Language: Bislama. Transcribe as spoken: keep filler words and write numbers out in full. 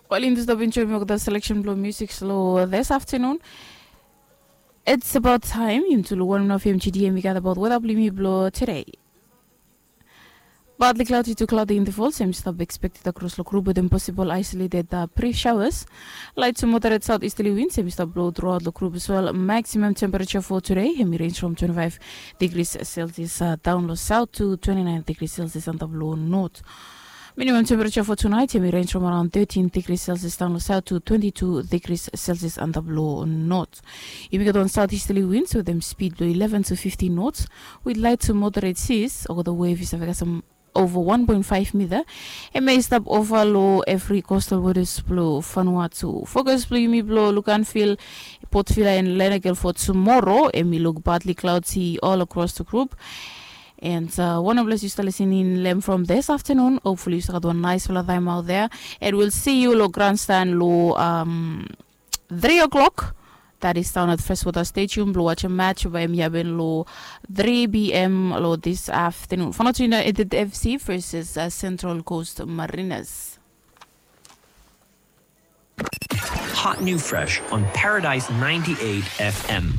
Wel, yumi tu stap enjoy mi olgeta selection blong music long this afternoon. It's about time yumi tu long wanem na fem gdm i gat about weather blong yumi blong today. Partly cloudy to cloudy intervals em i stap expected across long group with them possible isolated uh, brief showers. Light to moderate southeasterly winds em i stap blow throughout long group as well. Maximum temperature for today em i range from twenty-five degrees Celsius uh, down long south to twenty-nine degrees Celsius on the blow north. Minimum temperature for tonight em i range from around thirteen degrees Celsius down south to twenty-two degrees Celsius under blow north. Yumi get on southeasterly winds with them speed below eleven to fifteen knots with light to moderate seas or the wave is having some over one point five meter. Em i stap over lo every coastal waters below Vanuatu. Focus below yumi below Luganville, Port Vila and Lenakel for tomorrow. Em i look partly cloudy all across the group. And uh, one of us used to listen in Lem from this afternoon. Hopefully, you got one nice fellow time out there. And we'll see you lo grandstand lo um, three o'clock. That is down at Freshwater Stadium. Lo watch a match by Miaben lo three p.m. lo this afternoon. Fanatina Edit F C versus uh, Central Coast Marinas. Hot new fresh on Paradise ninety-eight F M.